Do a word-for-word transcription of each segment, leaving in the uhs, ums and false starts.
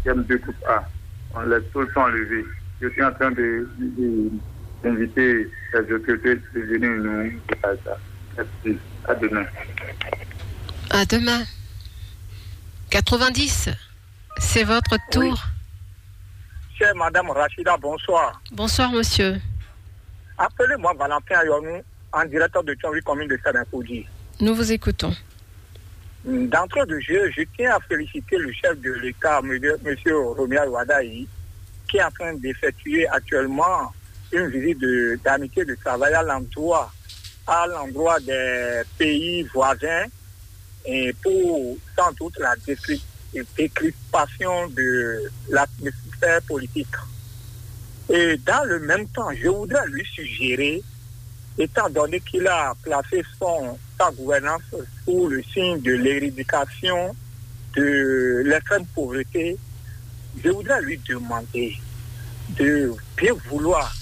M deux groupe A. On laisse tout le temps lever. Je suis en train de, de, d'inviter les autorités de venir nous dire ça. Merci. À demain. À demain. Quatre-vingt-dix, c'est votre tour. Chère Madame Rachida, bonsoir. Bonsoir, monsieur. Appelez-moi Valentin Ayonou, en direct de Thionville, commune de Saint-Napoudi. Nous vous écoutons. D'entrée de jeu, je tiens à féliciter le chef de l'État, monsieur Romuald Wadagni, qui est en train d'effectuer actuellement une visite de- d'amitié de travail à l'endroit à l'endroit des pays voisins et pour sans doute la décri- décrispation de l'atmosphère politique. Et dans le même temps, je voudrais lui suggérer, étant donné qu'il a placé son, sa gouvernance sous le signe de l'éradication de l'extrême pauvreté, je voudrais lui demander de bien vouloir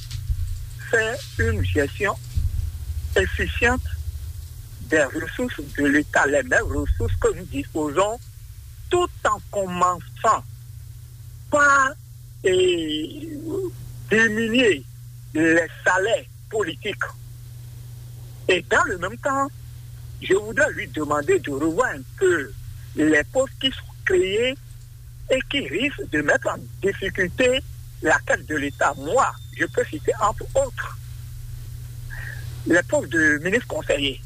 faire une gestion efficiente des ressources de l'État, les mêmes ressources que nous disposons, tout en commençant par eh, diminuer les salaires politiques. Et dans le même temps, je voudrais lui demander de revoir un peu les postes qui sont créés et qui risquent de mettre en difficulté la caisse de l'État. Moi, je peux citer entre autres les postes de ministre conseiller,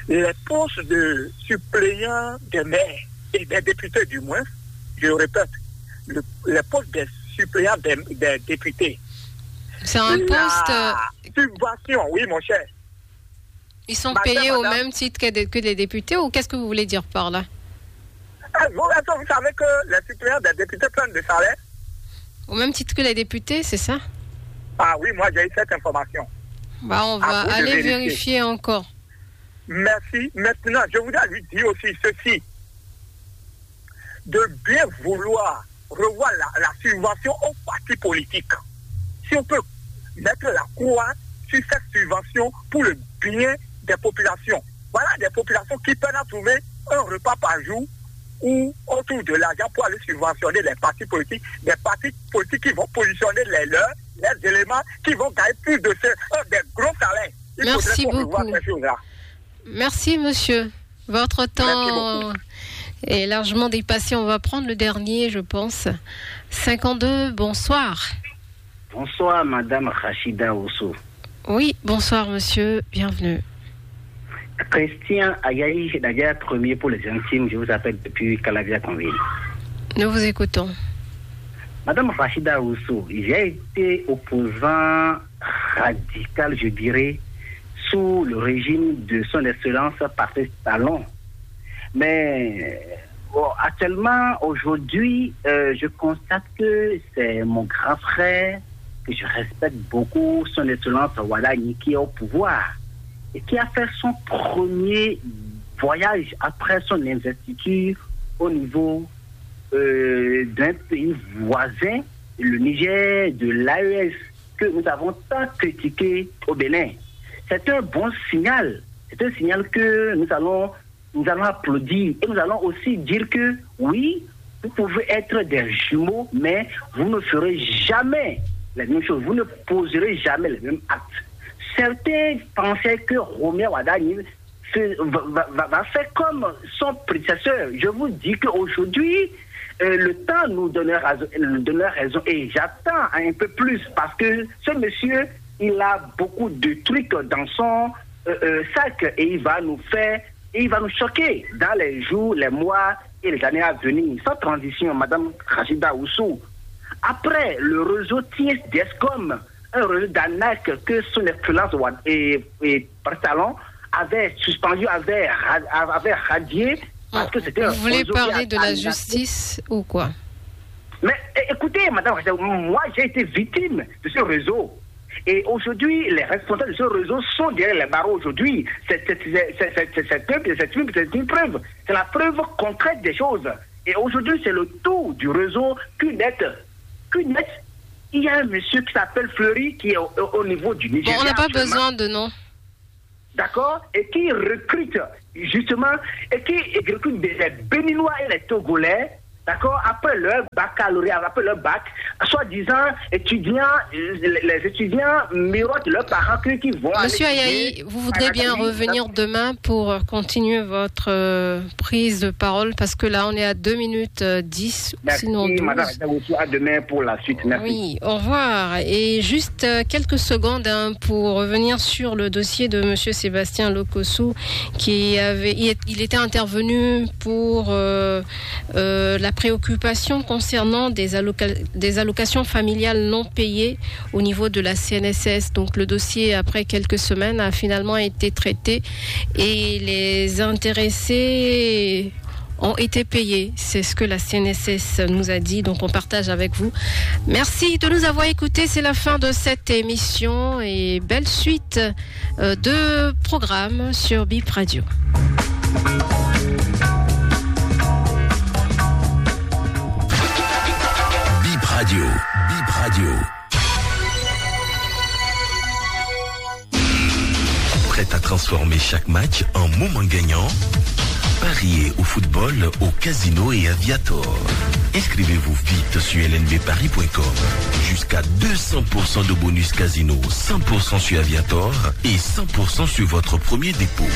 les postes de suppléant des maires et des députés du moins, je répète, le- les postes des suppléants des, des députés. C'est un poste. euh, La subvention, oui, mon cher. Ils sont Madame, payés au madame. Même titre que, des- que les députés, ou qu'est-ce que vous voulez dire par là? Eh, Vous, est-ce que vous savez que les suppléants des députés prennent des salaires? Au même titre que les députés, c'est ça? Ah oui, moi j'ai eu cette information. Bah, on va À vous de aller vérifier. Vérifier encore. Merci. Maintenant, je voudrais lui dire aussi ceci. De bien vouloir revoir la, la subvention aux partis politiques. Si on peut mettre la croix sur cette subvention pour le bien des populations. Voilà des populations qui peinent à trouver un repas par jour ou autour de l'argent pour aller subventionner les partis politiques, des partis politiques qui vont positionner les leurs, les éléments qui vont gagner plus de ce, euh, des gros salaires. Il Merci faudrait qu'on revoie beaucoup. Ces choses-là. Merci, monsieur. Votre temps Merci est largement dépassé. On va prendre le dernier, je pense. Cinquante-deux, bonsoir. Bonsoir, Madame Rachida Osso. Oui, bonsoir, monsieur. Bienvenue. Christian Ayayi, c'est d'ailleurs premier pour les intimes. Je vous appelle depuis Calavia Conville. Nous vous écoutons. Madame Rachida Osso, j'ai été opposant radical, je dirais, sous le régime de son excellence Patrice Talon. Mais bon, actuellement, aujourd'hui, euh, je constate que c'est mon grand frère que je respecte beaucoup, son excellence Wadagni, qui est au pouvoir et qui a fait son premier voyage après son investiture au niveau euh, d'un pays voisin, le Niger, de l'A E S, que nous avons tant critiqué au Bénin. C'est un bon signal. C'est un signal que nous allons, nous allons applaudir. Et nous allons aussi dire que oui, vous pouvez être des jumeaux, mais vous ne ferez jamais la même chose. Vous ne poserez jamais les mêmes actes. Certains pensaient que Romuald Wadagni va, va, va, faire comme son prédécesseur. Je vous dis qu'aujourd'hui, euh, le temps nous donnera, nous donnera raison. Et j'attends un peu plus parce que ce monsieur, il a beaucoup de trucs dans son euh, euh, sac et il va nous faire, il va nous choquer dans les jours, les mois et les années à venir. Sans transition, Madame Rachida Oussou. Après le réseau T S D S com, un réseau d'arnaque que son excellence et, et Patrice Talon avait suspendu, avait, avait radié, parce que c'était Vous un voulez réseau parler qui de la arnaquait. Justice ou quoi? Mais é- écoutez, madame, moi j'ai été victime de ce réseau. Et aujourd'hui, les responsables de ce réseau sont derrière les barreaux aujourd'hui. C'est c'est- c'est- c'est- c'est- c'est une, c'est une, c'est une preuve. C'est la preuve concrète des choses. Et aujourd'hui, c'est le tour du réseau Q net. Q net, il y a un monsieur qui s'appelle Fleury qui est au, au- au niveau du Bon, Nigeria. on n'a pas Actuellement. Besoin de nom. D'accord, et qui recrute justement, et qui recrute des, des Béninois et les Togolais, d'accord, après leur baccalauréat, après leur bac, soi-disant étudiants, euh, les, les étudiants mirotent leurs parents qui, qui vont aller Monsieur étudier Ayayi, vous en voudrez bien académie. Revenir demain pour euh, continuer votre euh, prise de parole parce que là, on est à deux minutes euh, dix. Merci, Sinon douze. Madame. Je vous retrouve à demain pour la suite. Merci. Oui, au revoir. Et juste euh, quelques secondes hein, pour revenir sur le dossier de Monsieur Sébastien Lokossou, qui avait, il est- il était intervenu pour euh, euh, la préoccupation concernant des, alloca- des allocations familiales non payées au niveau de la C N S S. Donc le dossier, après quelques semaines, a finalement été traité et les intéressés ont été payés. C'est ce que la C N S S nous a dit, donc on partage avec vous. Merci de nous avoir écoutés. C'est la fin de cette émission et belle suite euh, de programmes sur Bip Radio. Bip Radio. Bip Radio. Prête à transformer chaque match en moment gagnant ? Pariez au football, au casino et à Viator. Inscrivez-vous vite sur L N B paris point com. Jusqu'à deux cents pour cent de bonus casino, cent pour cent sur Aviator et cent pour cent sur votre premier dépôt.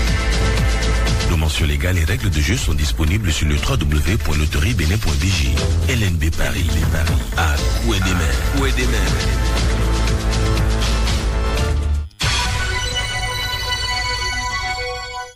Nos mentions légales et règles de jeu sont disponibles sur le w w w point loterie bénin point b j. L N B Paris, Paris, à coup et des mains. Coup et des mains.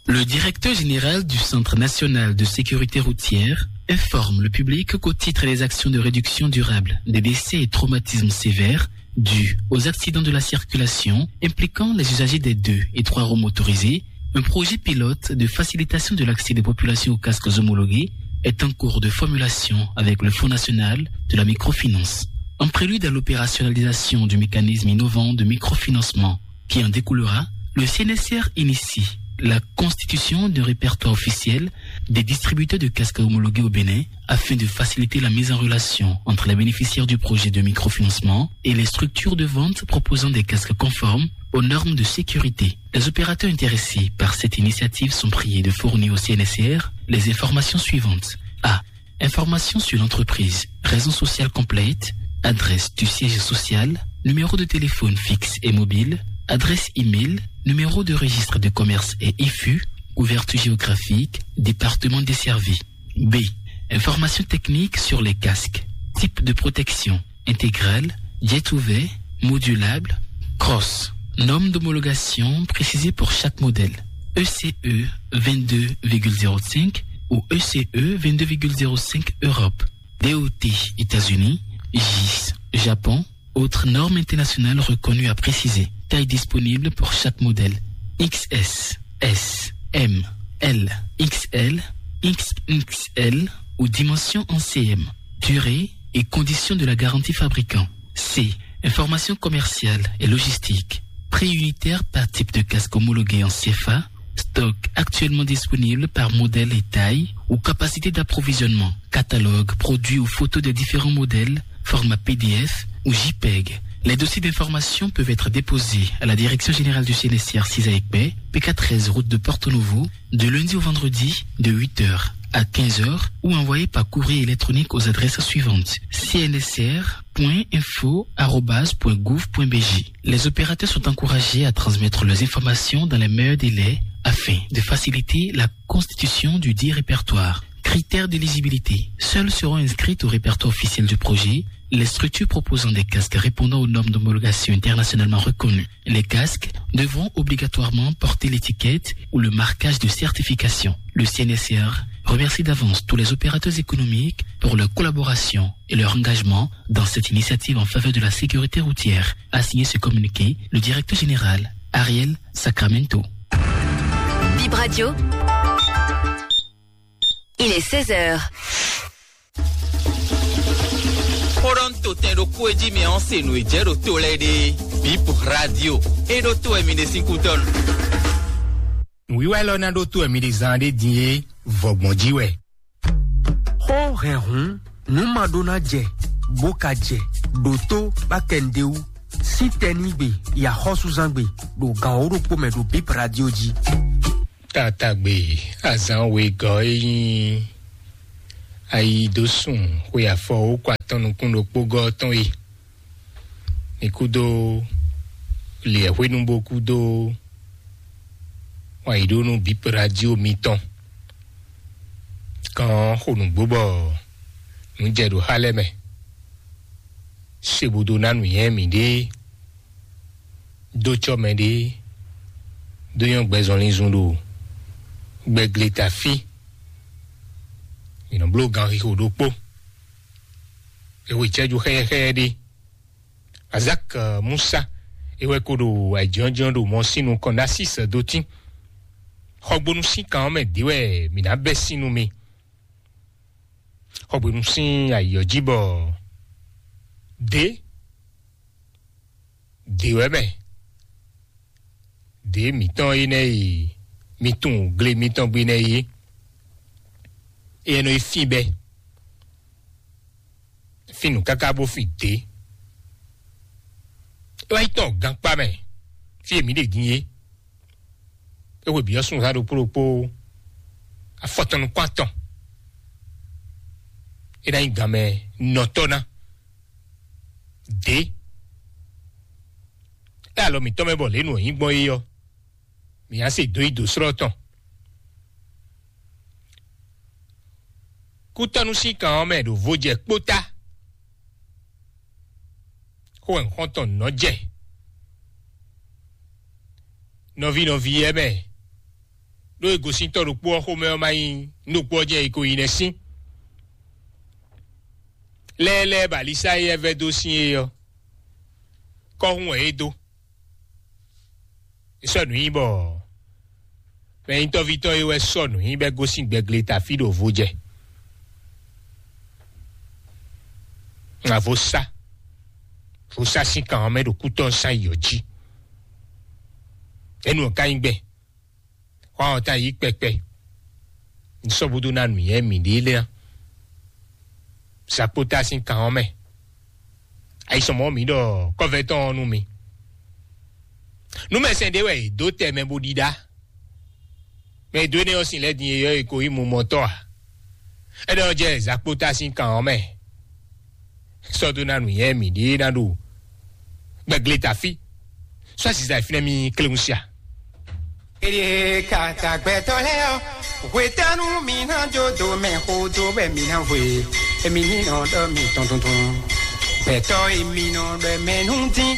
Le directeur général du Centre national de sécurité routière informe le public qu'au titre des actions de réduction durable des décès et traumatismes sévères dus aux accidents de la circulation impliquant les usagers des deux et trois roues motorisées, un projet pilote de facilitation de l'accès des populations aux casques homologués est en cours de formulation avec le Fonds national de la microfinance. En prélude à l'opérationnalisation du mécanisme innovant de microfinancement qui en découlera, le C N S R initie la constitution d'un répertoire officiel des distributeurs de casques homologués au Bénin afin de faciliter la mise en relation entre les bénéficiaires du projet de microfinancement et les structures de vente proposant des casques conformes aux normes de sécurité. Les opérateurs intéressés par cette initiative sont priés de fournir au C N S R les informations suivantes. A. Informations sur l'entreprise, raison sociale complète, adresse du siège social, numéro de téléphone fixe et mobile, adresse email, numéro de registre de commerce et I F U, couverture géographique, département desservi. B. Informations techniques sur les casques, type de protection, intégrale, jet ouvert, modulable, cross. Norme d'homologation précisée pour chaque modèle. E C E vingt-deux virgule zéro cinq ou E C E vingt-deux virgule zéro cinq Europe. D O T États-Unis, G I S Japon, autres normes internationales reconnues à préciser. Taille disponible pour chaque modèle. X S, S, M, L, X L, X X L ou dimension en C M. Durée et conditions de la garantie fabricant. C. Information commerciale et logistique. Prix unitaire par type de casque homologué en C F A. Stock actuellement disponible par modèle et taille ou capacité d'approvisionnement. Catalogue, produits ou photos des différents modèles, format P D F ou J peg. Les dossiers d'information peuvent être déposés à la Direction générale du C N S R six à Ekpé, P K treize route de Porto Novo, de lundi au vendredi de huit heures à quinze heures ou envoyés par courrier électronique aux adresses suivantes: C N S R point info arobase point gouv point B J. Les opérateurs sont encouragés à transmettre leurs informations dans les meilleurs délais afin de faciliter la constitution du dit répertoire. Critères d'éligibilité. Seules seront inscrites au répertoire officiel du projet les structures proposant des casques répondant aux normes d'homologation internationalement reconnues. Les casques devront obligatoirement porter l'étiquette ou le marquage de certification. Le C N S R remercie d'avance tous les opérateurs économiques pour leur collaboration et leur engagement dans cette initiative en faveur de la sécurité routière, a signé ce communiqué le directeur général Ariel Sacramento. Bip Radio. Il est seize heures. Xó ɖɔ nú totɛn ɖokpó e jí mi ɔ́ se nǔ e jɛ ɖo to lɛ́ɛ ɖe. Bip Radio. E ɖo to wɛ mi ɖe sín kútɔ́ nu. Wíwá élɔ́ ná ɖótó wɛ mi ɖe zán ɖé din é, vɔgbɔn jí wɛ. Xó hɛn hǔn, nǔ ma ɖó ná jɛ, bó ka jɛ, ɖǒtó bá kɛ nǔɖé wú. Sítɛnígbe, yaxɔ́súzángbe, ɖo gan wǒ ɖokpó mɛ ɖo Bip Radio jí. Tatagbe, azán wegɔ́ e nyí Ayi dó sun xwe afɔ wókɔ atɔn nukún ɖokpó gɔ́ tɔn e. Mi kúdó liɛ hwenu bó kúdó wǎyíɖónú bǐ radio mitɔn. Kan xo nǔgbó bɔ nǔ jɛ ɖo xá lɛ́ɛ mɛ. Se bo dó ná nǔnywɛ́ mǐɖée, dó cɔ́ mɛɖée, dó nyɔ́ gbɛzɔnlin zun ɖo gbɛgle ta fí. Mǐ nɔ bló ganxixo ɖokpó. É hwe cɛ́jú xɛ́yɛ́xɛ́yɛ́ ɖé. Azak Musa é wɛ ko ɖo ayǐjínjɔ́n ɖo mɔ sín nukɔn ná sí sɛ́ dó tín. Xɔgbónú sín kan ɔ́ mɛ dě wɛ mǐ ná bɛ́ sín nú mi. Xɔgbónú sín ayǐ ɔ́ jí bɔ dě dě wɛ mɛ dě mǐtɔn énɛ́ e mi tunwun gle mitɔn gbe nɛ́ é. Éyɛ́ nɔ yi fín bɛ́ fín nǔ káká bó fin dě. É wá yi tɔn gankpá mɛ fí e mǐ ɖe din é. É hwe bǐ ɔ́ súnnu zán ɖokpó ɖokpó afɔtɔn nukún atɔn. É ná nyí gan mɛ nɔtɔ́ ná dě. É alɔ mǐtɔn mɛ bɔ lě nǔ ɔ́ nyí gbɔn é ɔ́, mǐ ná se dó yi dǒ slɔ́ tɔn. Kútɔ́nú sín kan ɔ́ mɛ ɖo vo jɛ kpótá. Xó wɛ xɔ́ntɔn nɔ́ jɛ nɔví nɔví yɛ mɛ. Ɖó e gosíntɔ́ ɖokpó ɔ́ xomɛ ɔ́ ma nyí nú ɖokpó ɔ́ jɛ e ko yi nɛ́ sín. Lɛ́ɛ lɛ́ɛ ba Lisáyi yɛ vɛ́ dó sín é ɔ́, kɔ́hún wɛ é dó. É sɔ́ nǔ nyi bɔ mɛ nyitɔ́ví tɔn é wɛ sɔ́ nǔ nyi bɔ é gosín gbɛgle ta fí ɖo vo jɛ. Ŋa vo sá vo sá sín kan ɔ́ mɛ ɖo kútɔ́ sán yi ɔ́ jí. Énú ɔ́ ka nyí gbɛn xɔ àwọn tá yí kpɛkpɛ. Nsɔ́búdú ná nǔnyɛ mǐɖée lé ná. Sakpótá sín kan ɔ́ mɛ. Ayisɔmɔ mǐ ɖɔ kɔ́vɛ́tɔ́ ɔ́ nú mi. Nú mɛsɛn ɖé wɛ è dó tɛ mɛ bó ɖíɖá. Mɛ e dó énɛ́ ɔ́ sin lɛ́ din e yɔ e ko nyí mumɔtɔ́ ǎ. Énɛ́ ɔ́ jɛ zakpótá sín kan ɔ́ mɛ. Sɔ́ dó ná nǔnyɛ mǐɖée ná ɖo gbɛgle ta fí. Sɔ́ aziza e fínɛ́ mì kléwún sia. Eye kaka gbɛtɔ́ lɛ́ɛ ɔ́, hwetɛ́nu mi ná jó dó mɛ xó dó wɛ mi ná hwe, emi ní nɔ ɖɔ mi tɔn tuntun. Gbɛtɔ́ emi nɔ ɖɔ mɛ nú dín,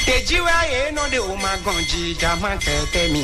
tejí wɛ yě nɔ ɖe o ma gɔn jí ja má kɛtɛ mi.